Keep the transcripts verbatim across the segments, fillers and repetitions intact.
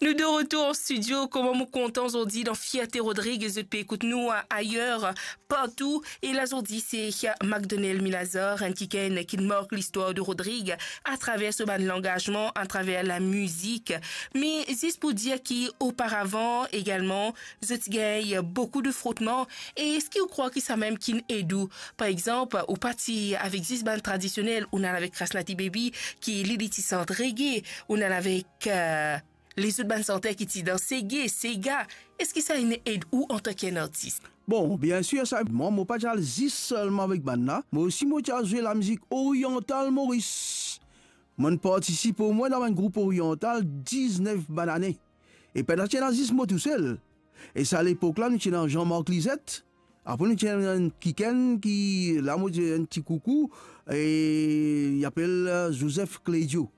Nou de retour an studio, kouma mo kontan zordi dan Fierte Rodrigues, zot pe ekout nou a-, ayer, partou. E la zordi se Macdonald Milazar, enn kikenn ki mark listwar de Rodrig atraver so bann langazman, atraver lamizik. Me zis pou dir ki oparavan egalman, zot ti gagn boukou de frotman. E eski ou krwar ki samem ki'nn ed ou? Par exanp, ou pa ti avek zis bann tradisionel, ou'nn al avek Krasnati Baby, ki li, li ti sant reggae, ou'nn al avek, euh, lezot bann santer ki ti dan sege, sega, eski sa inn ed ou antanki enn artis? Bon, biensir, sa, mwa, mo pa ti al zis selman avek bann la. Mo osi, mo ti al zwe lamizik oryantal Moris. Mo'nn partisip omwin dan bann group oryantal diznef bann ane. E pena ti ena zis mo tousel. E sa lepok la, nou ti ena Jean-Marc Lisette. Apre nou ti ena enn kikenn ki, la mo dir enn ti koukou, e li apel, euh, Joseph Clédio.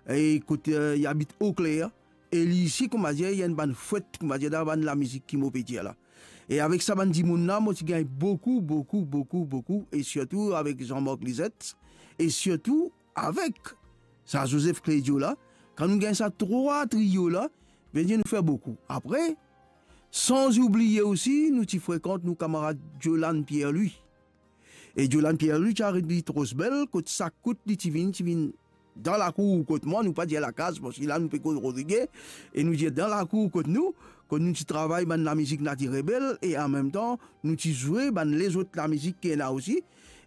E kot, euh, li abit Eau Claire, e li osi, kouma dir, li enn bann fwet, kouma dir, dan bann lamizik ki mo pe dir la. E avek sa bann dimoun la, mo ti gagn boukou, boukou, boukou, boukou, e sirtou avek Jean-Marc Lisette, e sirtou avek sa Joseph Clédio la, kan nou gagn sa trwa trio la, vedir nou fer boukou. Apre, san oubliye osi, nou ti frekant nou kamarad Jolan Pierre-Louis. E Jolan Pierre-Louis ti aret li Rosbel, kot sak kout li ti vinn, ti vinn dan lakour kot mwa, nou pa dir lakaz, parski la nou pe koz Rodrige, e nou dir dan lakour kot nou, kot nou ti travay bann lamizik Nati Rebel, e anmemtan, nou ti zwe bann lezot lamizik ki ena osi.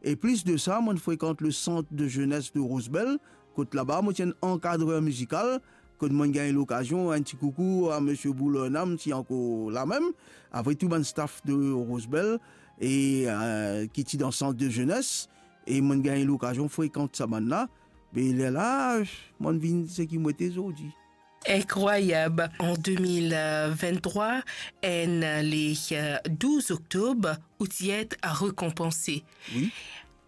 E plis de sa, mo'nn frekant le sant de zenes de Rosbel, kot laba mo ti enn ankadrer mizikal, kot mo'nn gagn lokazion, enn ti koukou a misie Boulornam, si ankor la mem, avek tou bann staff de Rosbel, e, euh, ki ti dan sant de zenes, e mo'nn gagn lokazion frekant sa bann la, be lerla, mo'nn vinn seki mo ete zordi. Inkrwayab, an de mil venntrwa, enn le, euh, douz oktob, ou ti et rekonpanse. Wi.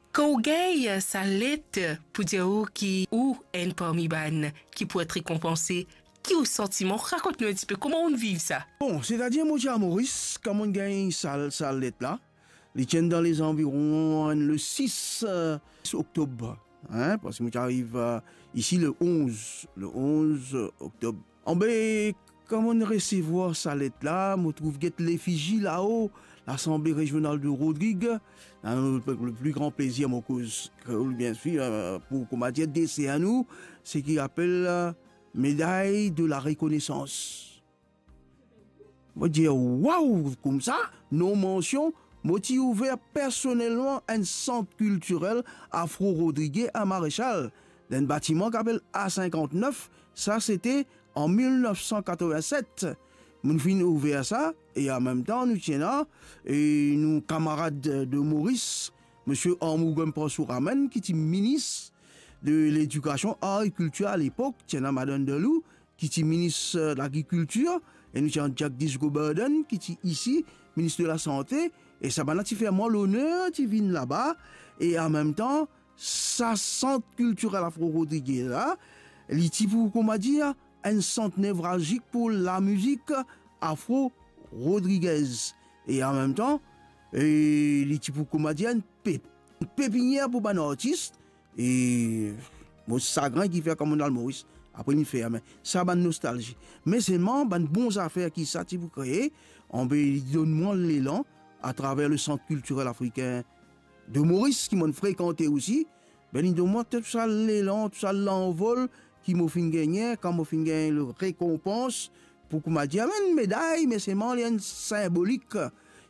Kan ou gagn sa let pou dir ou ki ou enn parmi bann ki pou et rekonpanse, ki ou santiman? Rakont nou enn tipe, kouma ou viv sa? Bon, setadir mo ti a Moris, kan mo'nn gagn sa, sa let la, li ti enn dan lezanviron le sis, euh, oktob, hein, parski mo ti ariv, euh, isi le onz, le onz oktob. Anbe, kan mo'nn resevwar sa let la, mo trouv get lefizi lao, Lasanble Rezional de Rodrig, hein, le, le pli gran plezir mo koz kreol, biensir, euh, pou, kouma dir, desern nou, seki apel, euh, Médaille de la Reconnaissance. Mo dir, waw, koumsa, non mansion, mo ti ouver personelman enn sant kiltirel afro-rodrige a Marechal, dan enn batiman ki apel A sinkant-nef, sa sete an mil nef san katrovin-set. Mo'nn finn ouver sa, e anmemtan, nou ti ena, e nou kamarad de Moris, misie Armougom Parsouramenn, ki ti minis de Ledikasion, Ar e Kiltir alepok, ti ena Madann Delou, ki ti minis, euh, lagrikiltir, e nou ti ena Jagdish Govardhan, ki ti isi, minis de lasante, e sa bann la ti fer mwa loner ti vinn laba, e anmemtan, sa sant kiltirel afro-rodrige la, li ti pou, kouma dir, enn sant nevralzik pou lamizik afro-rodrigez. E anmemtan, e li ti pou, kouma dir, enn pe-, enn pepinier pou bann artis, e mo sagrin ki fer kan mo'nn al Moris, apre li ferme. Sa bann nostalzi. Me selman, bann bon zafer ki sa ti pou kree, anbe li donn mwa lelan atraver le Sant Kiltirel Afrikin de Moris, ki mo'nn frekante osi, be li donn mwa tou sa lelan, tou sa lanvol ki mo finn gagne, kan mo finn gagn le rekonpans, pou kouma dir, enn meday, me selman li enn sinbolik,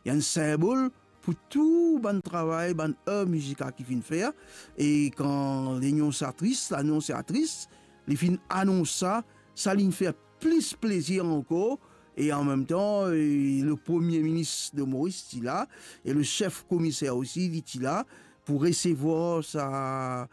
li enn sinbol pou tou bann travay, bann er mizikal ki finn fer, e kan lannonsiatris, lannonsiatris, li finn anons sa, sa linn fer plis plezir ankor, e anmemtan, e le Premie Minis de Moris ti la, e le sef komiser osi, li ti la, pou resevwar sa